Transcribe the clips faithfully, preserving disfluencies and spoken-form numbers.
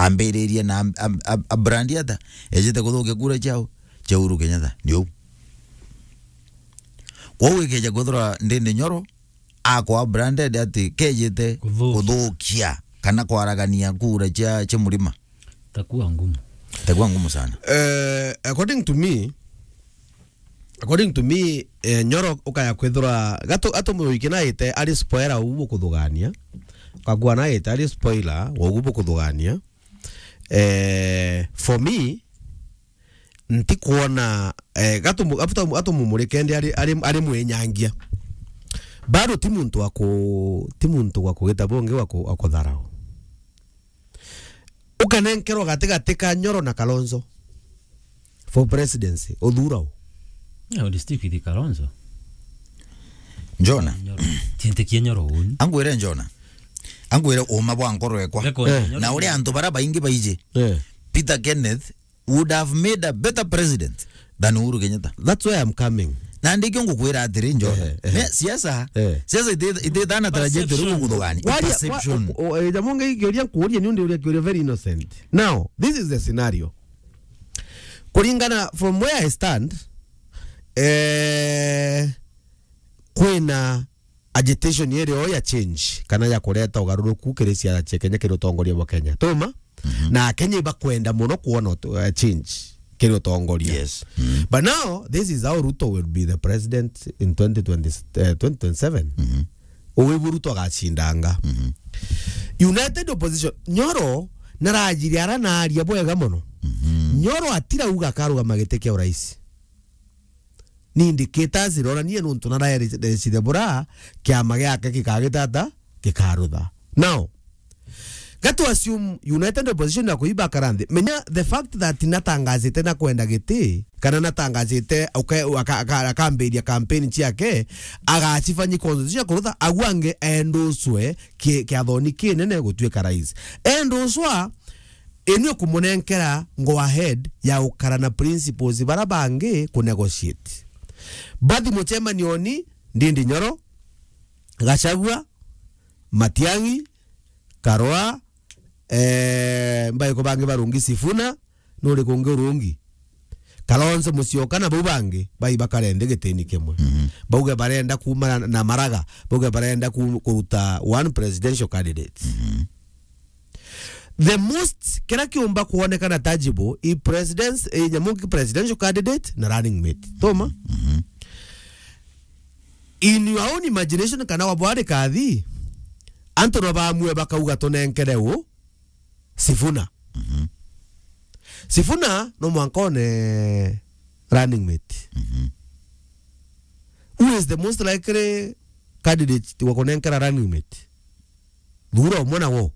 ambiririe na am-, am-, am-, a brand ata? Ejite kuthukia kura ciao, cia Uhuru Kenyatta. Ni uu. Kwou ikeja kwithirwa Ndindi Nyoro akwa branded ati kejite Kuthukia. kuthukia kana kwaragania kura cia, cia Murima. Itakuwa ngumu. Itakuwa ngumu sana. Eh, according to me, according to me, eh, Nyoro ukaya kwithirwa gatu, atu muiki naite ari spoiler ubu bukuthugania. Ukagua naite ari spoiler wa ubu bukuthugania. Eh, for me, ntikwona, eh, gatu, gatu, gatu mumurike ndi ari, ari, ari mwinyangia. Bado ti muntu wa ku, ti muntu wa kugita bungi wa ku, wa kutharau. Ukanenkerwa gatigati ka Nyoro na Kalonzo for presidency, uthura u? Yeah, I would stick with Kalonzo. Njona. Nyoro. Tintikie Nyoro uni. Angwire Njona. Angwire uma bwa nkoro ekwa. Record Eh. Nyoro. Na uria antu bara baingi baiji. Eh. Peter Kenneth would have made a better president than Uhuru Kenyatta. That's where I'm coming. Na ndikio ngukwira atiri, Njona. Eh, eh. Ne, siasa, Eh. siasa iti-, itithana trajectory Perception. Gukuthugania. Waria, Perception. Wa, o, o, eh, jamonge ikiuria nkuuria ni undi uria kiuria very innocent. Now, this is the scenario. Kuringana from where I stand, eh, kwina agitation irio ya change kana ya kureta ugaruruku kiri siasa cia Kenya, kiri utongoria bwa Kenya. Tuma? Mhm. Na Kenya ibakwenda muno kuona utu-, eh, change kiri utongoria. Yes. Mhm. But now, this is how Ruto will be the president in twenty twenty, eh, twenty twenty-seven. Mhm. Uwi bu Ruto agacindanga. Mhm. United Opposition, Nyoro narajiri ara naria bwega muno. Mhm. Nyoro atirauga akarugama giti kia urais. Ni indicators iroranie nuntu naraerecire bura kiama giake gikagitata, gikarutha. Now, gatu assume United Opposition na kuiba karanthi. Menya the fact that natangazite na kwenda giti, kana natangazite uke-, aka-, aka-, akambiria campaign ciake, agacifanyi constitution ya kurutha, agu angi enduswe ki-, kiathoni kinene gutuika rais. Enduswa, eni ukumunenkera go ahead ya ukara na principles bara bangi ku negotiate. Bathi mucemanioni, Ndindi Nyoro, Gachagua, Matiang'i, Karua, eh, mbaiko bangi barungi, Sifuna, nuri kungi urungi? Kalonzo Musyoka na bau bangi, bai bakare nthi gitini kimwe. Mhm. Bauge barenda kuuma na, na Maraga, bauge barenda ku-, kuruta one presidential candidate. Mhm. The most, kira kiumba kuonekana tangible, i presidents-, i nyamu ki presidential candidate na running mate. Tuma? Mhm. In your own imagination, kana wabwari kathi, antu no bamue bakauga tunenkere u Sifuna. Mhm. Sifuna no mwanka one running mate. Mhm. Who is the most likely candidate wa kunenkera running mate? Thura umwe na wo.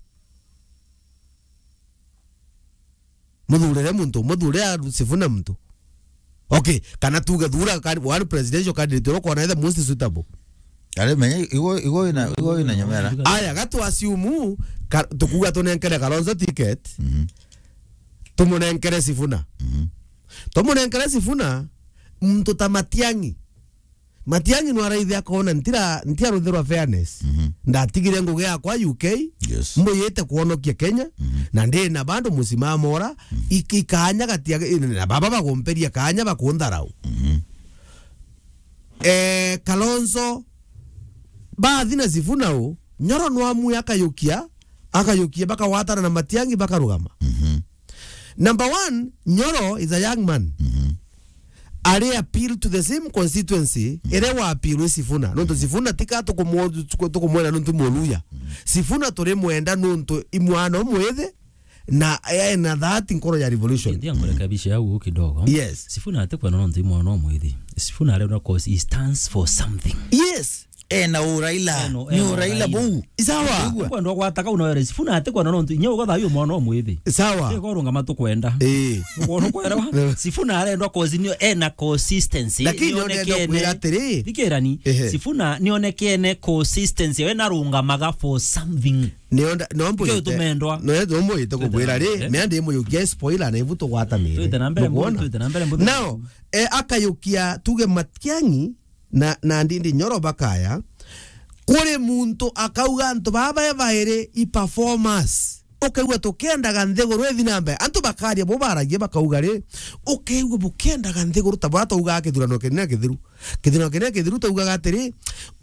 Muthurire muntu, muthurire Sifuna muntu. Okay, kana tuge thura can-, one presidential candidate uria ukwona the most suitable. Ari menya, igo, igo ina, igo ina nyomera. Aya, gatu assume, ka-, tukuga tunenkere Kalonzo ticket. Mhm. Tumunenkere Sifuna. Mhm. Tumunenkere Sifuna, muntu ta Matiang'i. Matiang'i no araithe akona ntira, ntiaruthirwa fairness. Mhm. Ndatigire ngugi yakwa U K, Yes. mbuyite kuonokia Kenya, Mhm. na ndi na bandu musimamo ura, Mhm. iki-, ikanya gatia, na baba bagumperia kanya bakuntharau. Mhm. Eh, Kalonzo, bathi na Sifuna u, Nyoro no amue akayukia, akayukia, bakawatana na Matiang'i, bakarugama. Mhm. Number one, Nyoro is a young man. Mhm. Ari appeal to the same constituency, Mhm. ere wa appeal wi Sifuna. Nontu Mhm. Sifuna tika tukumu-, tuku-, tukumwenda nontu Muluya. Mhm. Sifuna turi mwenda nontu i mwana umwithi, na ena that nkoro ya revolution. Ndia nkurekebishe au kidogo. Yes. Sifuna atikwenda nontu i mwana umwithi. Sifuna arenda cause he stands for something. Yes. Ena u Raila. Eno, Ni eno u Raila Raila. buu. Sawa. Ndigua. Kwenda gwataka una were Sifuna atikwenda nontu inya ugatha uyu mwana umwithi. Sawa. Tiga urungama tukwenda. Eh. Ukwona kwera wa? Sifuna arenda cause nio ena consistency. Lakini ndio ndio nionekene. Kwira atiri. Thikirani. Ehe. Sifuna nionekene consistency. We narungamaga for something. Nionda, no mbuyite. Kio tumendwa. No, no mbuyite kubwira ri, Twite na mbere. Mea ndi muyukia spoiler na ibu tugwatanire. Twite na mbere, Nukwona? Twite na mbere, mbere. Now, eh, akayukia tuge Matiang'i na, na Ndindi Nyoro bakaya, kuri muntu akauga antu baba bairi i performers. ukaigua tukiendaga nthiguru ithi na mbere. Antu bakaria bo baragia bakauga ri, ukaigua bukiendaga nthiguru ta bwa twaugaga kithurano kinene kithiru. Kithurano kinene kithiru twaugaga atiri,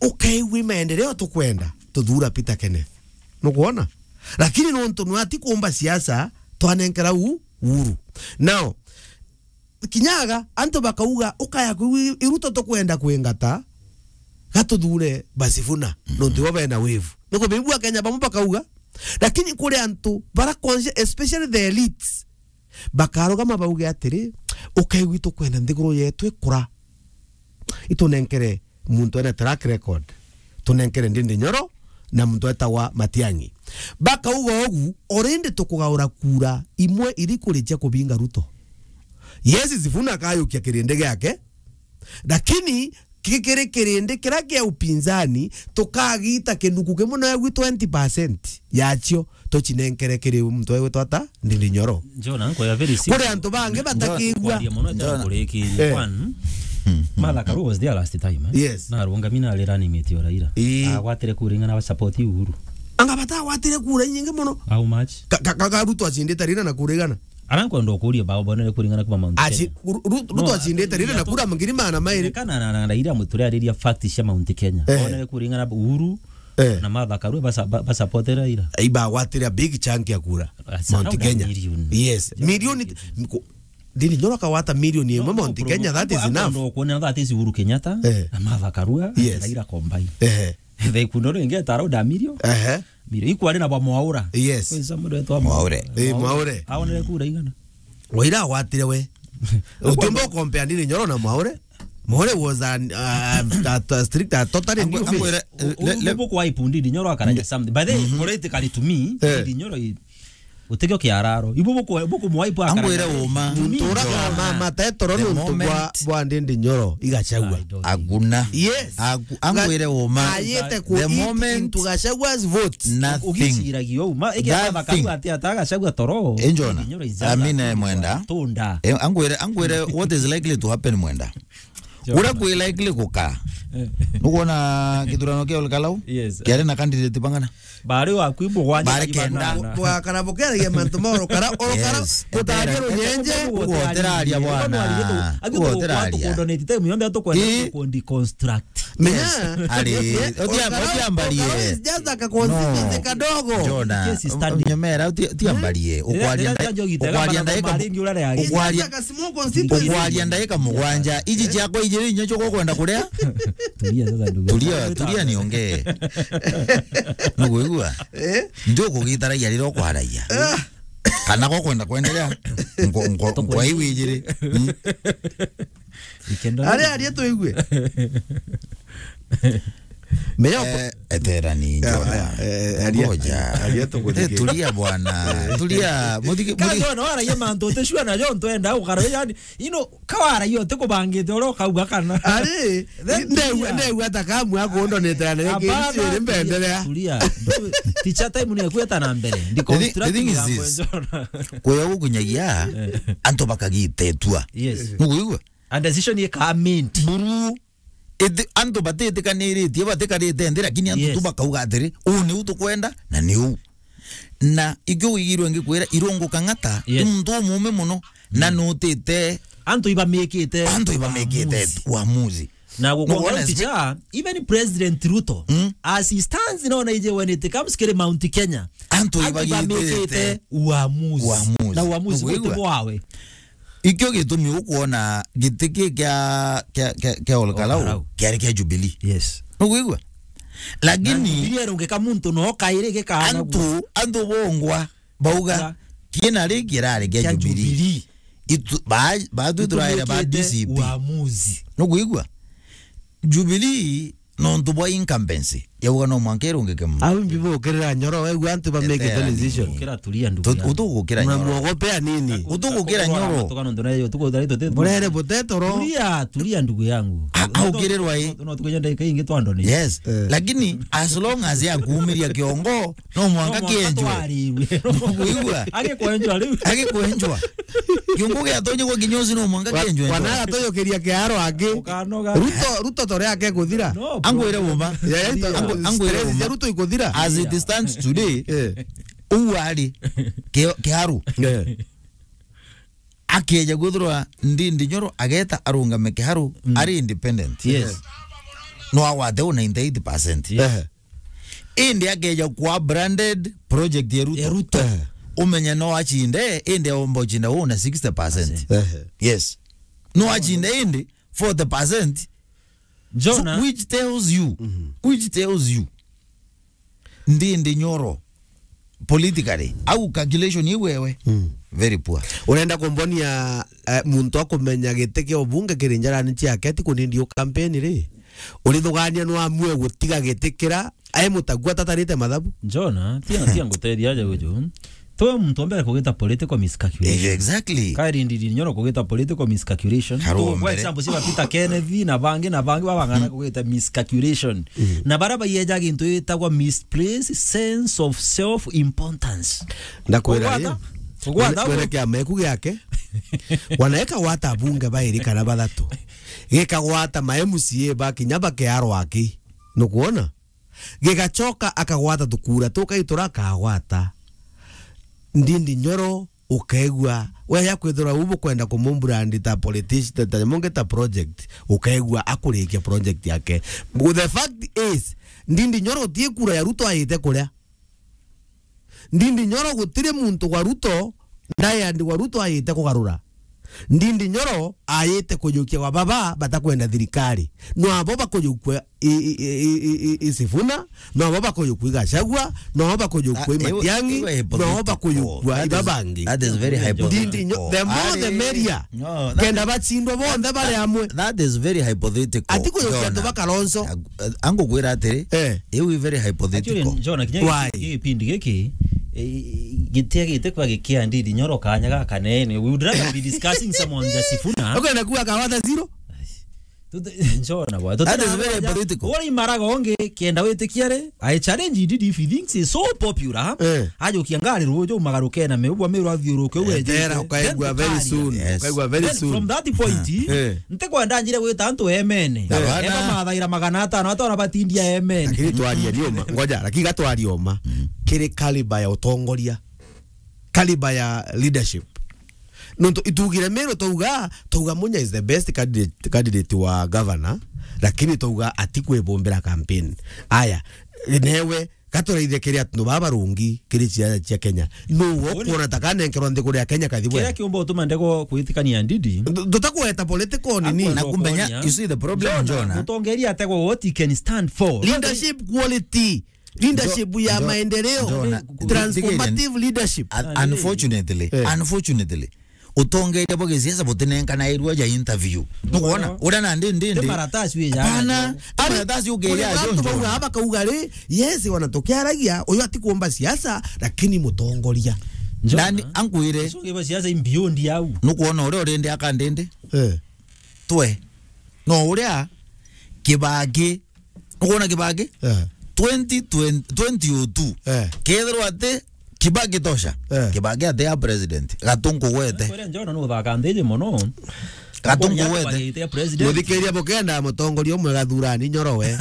ukaigua i maendeleo tukwenda, tuthura Peter Kenneth. Nukwona? Lakini nontu nwe ati kuumba siasa, twanenkera u-, Uhuru. Now, kinyaga, antu bakauga, ukaya kwigua i Ruto tukwenda kwingata, gatuthure Basifuna, nontu bo bena wave. Nikubiigua Kenya bamwe bakauga, lakini kuri antu bara conscious, especially the elites, bakarugama bauge atiri, ukaigua itukwenda nthiguru yetu ikura. Itunenkere muntu ena track record. Tunenkere Ndindi Nyoro na muntu etagwa Matiang'i. Bakauga ugu, already tukugaura kura imwe iri kurikia kubinga Ruto. Yes, Sifuna akayukia kirindi giake, lakini ki-, kiri kirindi kiria kia upinzani, tukagita kinuku kimwe na egwi twenty percent yacio tucinenkere kiri muntu egwitwa ata? Ndindi Nyoro. Njona, nkoya very simple. Kuri antu bangi batakigua. Kwaria mono, njona, njona kurikiria. Eh. One, Martha Karua was there last time, eh? Yes. Na arungami na arira ni miti o Raila. Ii. Agwatire kura ing'ana ba support Uhuru? Anga batagwatire kura inyingi mono? How much? Ka, ka, ka, ka Ruto acindite Raila na kura igana? Ara nkwenda ukuria bao bonere kura ing'ana kuma Mount Kenya. Aci-, Ru-, Ru-, Ruto acindite Raila na kura ngiri magana mairi. Kana na, na, na Raila muturiariria fact cia Mount Kenya. Eh. Bonere kura ing'ana Uhuru, eh, na Martha Karua basa-, ba-, basupportera Raila. Ibagwatire a big chunk ya kura. That's Mount around a Kenya. Million. Yes. Million. Million. Ko-, Ndindi Nyoro akagwata million imwe Mount Kenya, that is enough. No, no, no, kuona that is Uhuru Kenyatta, eh, na Martha Karua, yes, Raila combined. Eh. The kundo ringi ta around a million. Eh. Million. Ikwari na ba Mwaura. Yes. Kwesa mundu etwa Mwaure. Eh, Mwaure. Aonere kura ing'ana? Waira agwatire we. Utiumba compare Ndindi Nyoro na Mwaure. Mwaure was an, uh, a, a strict, a totally new face. Angwire, le, le, buku wa ipundi Ndindi Nyoro akaraja something. By the way, politically to me, eh, Ndindi Nyoro i-, utikio kiararo. Ibu buku, buku mwa ipu akaraja. Angwire uma. Muntu uraga mama tetoro nuntu bwa, bwa Ndindi Nyoro i Gachagua. Aguna. Yes. Agu-, angwire uma. Ayete ku eat into Gachagua's votes. Nothing. Ugiciragia uma. Ege Martha Karua ati ata Gachagua toro. Enjona. Ndindi Nyoro is just a, amina mwenda. Tunda. Eh, angwire, angwire, what is likely to happen mwenda? Uria kwi likely guka. Eh. Nukwona kithurano kia Olkalau? Yes. Kiari na candidate bang'ana? Bari waku i mugwanja. Bari kenda. Bwakara bukeragia mantu ma orokara, orokara, yes, kutagia runyenje. Ugoteraria bwana. Ugoteraria. Ugoteraria. Tukwenda ku deconstruct. Menya. Yes. Ari, utia, orokara, utiambarie. Orokara is just a constituency kadogo. Jona. Nyemera, uti-, utiambarie. Eh? Ukwaria ndai-, ukwaria ndaika, ukwaria, ukwaria ndaika mugwanja. Iji ciakwa ijiri inya cio kwenda kuria. Tulia sasa, ndugu. Tulia, tulia niongee. Nukuigua? Eh? Ndio kugitaragia riro kwaragia. Ah. Kana kwa kwenda kwendelea. Nko, nko, nko iwi ijiri. Mm. Ikenda. Ari, ari, tuigue. Menya uko- Eh, eterani, eh, njona. Eh, eh, aria, ngoja. Aria tukuthike. Eh, tulia bwana. Eh. Tulia. Muthiki, kazi muthiki- wana waragia mantu utishua najo ntwenda ukara, yani, you know, kawara iyo tikubangite uria ukauga kana. Ari, ndeu, ndeu ata kamu akundonete na rege. Hapana, iri mbendere. Tulia. Teacher time ni kweta na mbere. Ndi construct. The thi-, the thing is this. Kuya gukunyagia, eh, antu bakagitetwa. Yes. Nukuigua? And decision ikaminti. Buru. Ithi-, antu batitikanirite, batikarite nthi, lakini antu, yes, tu bakauga atiri, "Uu niu tukwenda, na niu." Na ikio wigirwe ngikwira, Irungu Kang'ata, yes, ni muntu umume muno, na, mm, nutite antu ibamikite, antu ibamikite uamuzi. Uamuzi. Na gukwonga, nukwona, ticha, even President Ruto, mm, as he stands now, na ije when it comes kiri Mount Kenya, antu, antu ibamikite, ibamikite uamuzi. Uamuzi. Na uamuzi nukwigua? Guti bwawe. Ikio gitumi ukwona giti ki kia, kia, kia, kia Olkalau, Olkalau, kiari kia Jubilee. Yes. Nukwigua? Lakini na Jubilee erungika muntu no kairi gikaana antu, antu bongwa bauga, ya, kina ri kirari kia, kia Jubilee. Jubilee. Itu, ba, ba tu turaire ba D C P. Uamuzi. Nukwigua? Jubilee nontu bwa incumbency, yauga no mwanka irungike muntu. Au mbi bukirira Nyoro, wegua antu bamekite decision. Ukira tulia, ndugu yangu. Utu-, utugukira Nyoro. Unamwogopea nini? Utugukira Nyoro. Murere butetoro. Tulia, tulia, ndugu yangu. A-, aukirirwa i. No, no, tukuja ndagika ingi twandone. Yes. Eh. Lakini as long as yakuumiria kiongo, no mwanka kienjwe. No mwanka twarirwe. Kuigua? Agikwenjwa riu. Agikwenjwa. Kiungo gia tonye kwa kinyozi no mwanka kienjwe. Wa-, wanaga toyokeria kiaro angi. Ukanoga. Ruto, Ruto tore ake kuthira. No, angwire bro. Uma. Yeah, yeah, angwire stress uma. Ruto ikuthira. As it stands today, eh, uu ari ki-, kiharu. Eh. Akeja kwithirwa Ndindi Nyoro ageta arungame kiharu, mm, ari independent. Yes. No agwate u ninety-eight percent. Yes. Eh. Indi akeja kwa branded project ya Ruto. Ya Ruto. Eh. Umenye no achinde, indi aomba uchinda u na sixty percent. Eh. Yes. No achinde indi forty percent. Jona. So, which tells you, mhm, which tells you, Ndindi Nyoro, politically, au calculation iu wewe? Mm. Very poor. Urenda kumbonia, eh, muntu akumenya giti kia ubunge kiri njarani ciake, ti kunindi u campaign ri? Urithugania no amue gutiga giti kira, ai mutagua tatarite mathabu? Jona, tia, tia ngutethia aja uju. Twe muntu wa mbere kugita political miscalculation. Eh, exactly. Kairi Ndindi Nyoro kugita political miscalculation. Karu tu, wa kwa mbere. Example, cia Peter Kenneth na bangi na bangi babang'ana, mm, kugita miscalculation. Mm. Na bara baieja gintu gitagwa misplaced sense of self importance. Ndakwira ri, kugwata, kugwata, mwene, mwene kiama eku giake, wanaeka gwata abunge bairi kana bathatu. Gikagwata ma M C A ba kinya bakearwa aki. Nukwona? Gigacoka akagwata tukura tukai turakagwata. Ndindi Nyoro ukaigua, we ya kwithirwa u bukwenda kumumbrand ta politician, ta, ta mungi ta project, ukaigua akurikia project yake. But the fact is, Ndindi Nyoro ti kura ya Ruto ayite kuria. Ndindi Nyoro gutiri muntu wa Ruto, ndaeandikwa Ruto ayite kugarura. Ndindi Nyoro ayite kujukia wa baba batakwenda thirikari. No abo bakujukua i, i, i, i, i, i Sifuna, no abo bakujukua i Gachagua, no abo bakujukua i Matiang'i, no abo bakujukua i babangi. That is very hypothetical. Ndindi Nyo-, the more the merrier. No, that is, kenda bachindwa bonthe bari amwe. That is very hypothetical. Ati kujukia antu ba Kalonzo. Angukwira atiri, eh, iu i very hypothetical. Actually, Jona, kinya giki, gipindi giki, eh, gitiagite kwa gikia Ndindi Nyoro kanya gaka nene. We would rather be discussing someone ja Sifuna. Ukwenda kuwa kawata zero? Tute-, Jona, bwa, that is very hypothetical. Uri maraga ongi, kenda witikia ri, I challenge Ndindi if he thinks he's so popular. Eh. Ajukia ngari ruju, magaruke na meubwa meru athiuruke, eh, uwe tera, ukaigua very soon. Yes. Ukaigua very soon. Then from that point, eh, ntikwenda njire gwita antu emene. Na bana. Eba mathaira magana atano, atona batindia emene. Lakini twaria ni uma. Ngoja, lakini gatwaria uma. Mm. Kiri kaliba ya utongoria. Kaliba ya leadership. Nontu itugire Meru twauga, twauga Munya is the best candidate, candidate wa governor, lakini twauga atikwibumbira campaign. Aya, newe gaturaithie kiri antu baba barungi kiri ciana cia Kenya. Nuu ukuona ta kanenkerwa nthiguru ya Kenya kathi bwega? Kiria kiumba utuma ndego kwitikania Ndindi. Ndu-, tutakweta political nini? Na kumenya, you see the problem, Jona, Jona, mutongeria ategwa what he can stand for. Leadership quality. Leadership ya maendeleo, transformative leadership. Un-, unfortunately, eh, unfortunately, utongeria bwa gisiasa butinenkanairua ja interview. Nukwona? Uria na ndi, ndi, ndi. Ti maratasi wi ja. Hapana, ti maratasi ukiria jo, bantu bauga, bakauga ri, yes, wana tukiaragia, uyu atikuomba siasa, lakini mutongoria. Nani ankwire? Ucio ngiba siasa in beyond yau. Nukwona uria urindi aka ndindi? Eh. Twe. No uria Kibaki. Nukwona Kibaki? Eh. Twenty twenty, twenty oh two. Eh. Kethirwa ati Kibaki tosha. Eh. Kibaki ati a president. Gatunku gwete. Kwere Njona no thaka ndiji mono. Gatunku gwete. Muthikiria bukenda mutongoria umwe gathurani Nyoro we.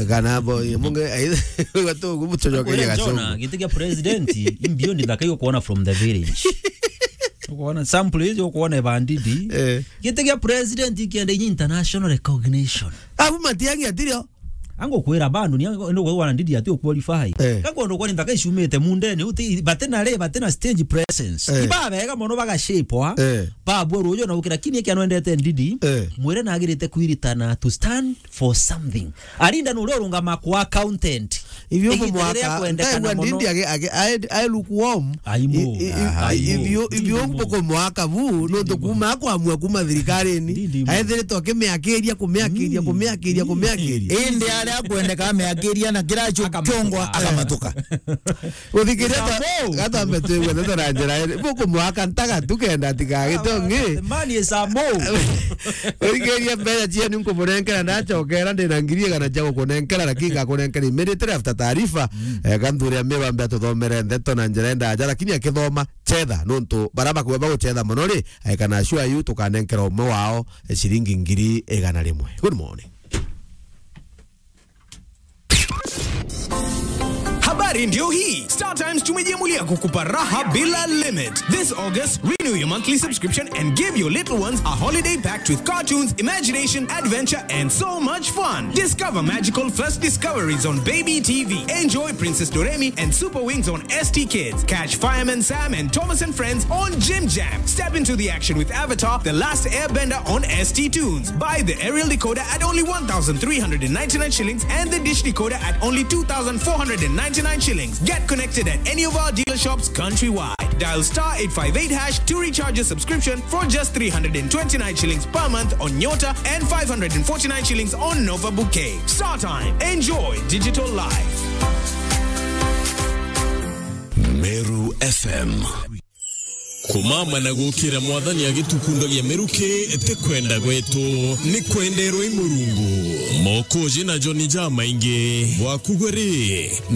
Kana bo, munge, gatungu mutongoria Gatungu. Kwere Njona, giti kia president, in beyond ndaka yo kuona from the village. Ukuona sample hiyo, ukuona Ebandidi. Eh. Giti kia president kienda inya international recognition. Abu Matiang'i atirio. Angukwira bandu ni angu, ni ugwe wana Ndindi ati u qualify. Eh. Gakondo kwani nthaka icumite mundene, uti, batena re, batena stage presence. Eh. Ibabega mono baga shape wa. Eh. Babua rujo na ukira kini kia nwendete Ndindi. Eh. Mwire nagirite kwiritana to stand for something. Arinda nuria urungama kwa accountant. Ivyo kumwaka, kwendekana mono. Ndindi age, age, ae, ae lukewarm. Aimu. I, i, i, aimu. Ivyo, ivyo kumwaka bu, no to kuma kwamua kuma thirikarini. Ndindi mu. Aethiritwe akimiakiria, kumiakiria, mm, kumiakiria, mm, kumiakiria. Indi aria akwendeka ameakiria na kiracho kiongo akamatuka. Akamatuka. Uthikiria ta, gatambe twigwe ndeto na njira iri. Bu kumwaka ntaga tu kenda atigagite ungi. The man is a mo. Uthikiria mbeca cienu nkumunenkera ndacokera ndina ngiri igana cia gukunenkera, lakini ngakunenkera immediately after taarifa. Mm. Eh, ganthuria Miru ambe atuthomere ndeto na njira ndaja, lakini akithoma chetha, nontu bara bakuba baguchetha mono ri, aikana sure yu tukanenkera umwe wao, eh, ciringi ngiri igana rimwe. Good morning. Habari Ndio hii, Star Times tumejiamulia kukupa raha bila limit. This August, renew your monthly subscription and give your little ones a holiday packed with cartoons, imagination, adventure, and so much fun. Discover magical first discoveries on Baby T V. Enjoy Princess Doremi and Super Wings on S T Kids. Catch Fireman Sam and Thomas and Friends on Jim Jam. Step into the action with Avatar: The Last Airbender on S T Tunes. Buy the aerial decoder at only one thousand three hundred and ninety-nine shillings and the dish decoder at only two thousand four hundred and ninety-nine shillings. Get connected at any of our dealer shops countrywide. Dial star eight five eight hash to recharge your subscription for just three hundred and twenty-nine shillings per month on Nyota and five hundred and forty-nine shillings on Nova Bouquet. Star Time. Enjoy digital life. Meru F M. Kumama na gukira Mwathani agitukundagia miruki ti kwenda gwetu, ni kwenderwa i Murungu. Mokoji na Joni jamaingi bwakugwe ri ni